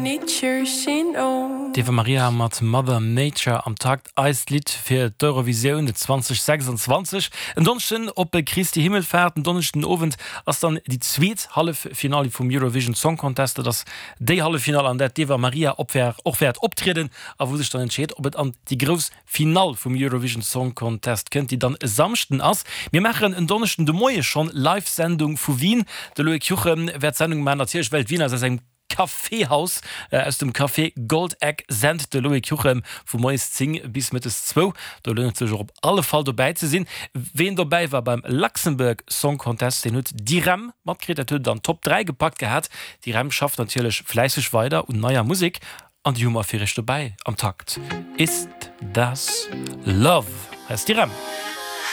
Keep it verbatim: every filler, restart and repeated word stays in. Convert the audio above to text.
Nature, she knows. D'Eva Maria mat Mother Nature am Takt, eist Lidd fir d'Eurovisioun zweitausendsechsundzwanzeg. En Donneschden op Christi Himmelfaart, en Donneschden Owend ass dann déi zweet Halleffinale vum Eurovision Song Contest. Dat ass déi Halleffinale, an där d'Eva Maria op och wäert optrieden a wou sech dann entscheet, ob et an déi grouss Finale vum Eurovision Song Contest kënnt, déi dann e Samschden ass. Mir maachen en Donneschden de Moie schonn Live-Sendung vu Wien. De Loïc Juchem wäert d'Sendung maachen, natierlech well d'Wien ass aus engem Caféhaus, aus dem Café Goldeck sent de Loïc Juchem vu moies zéng bis mëttes zwou. Do lount et sech och op alle Fall dobäi ze sinn. Ween dobäi war beim Luxembourg Song Contest, deen huet d'Irem matkritt, dat huet et an d'Top dräi gepackt gehat. D'Irem schafft natierlech fläisseg weider un neier Musek an déi hu mer fir iech dobäi am Takt. Ist das Love heißt d'Irem.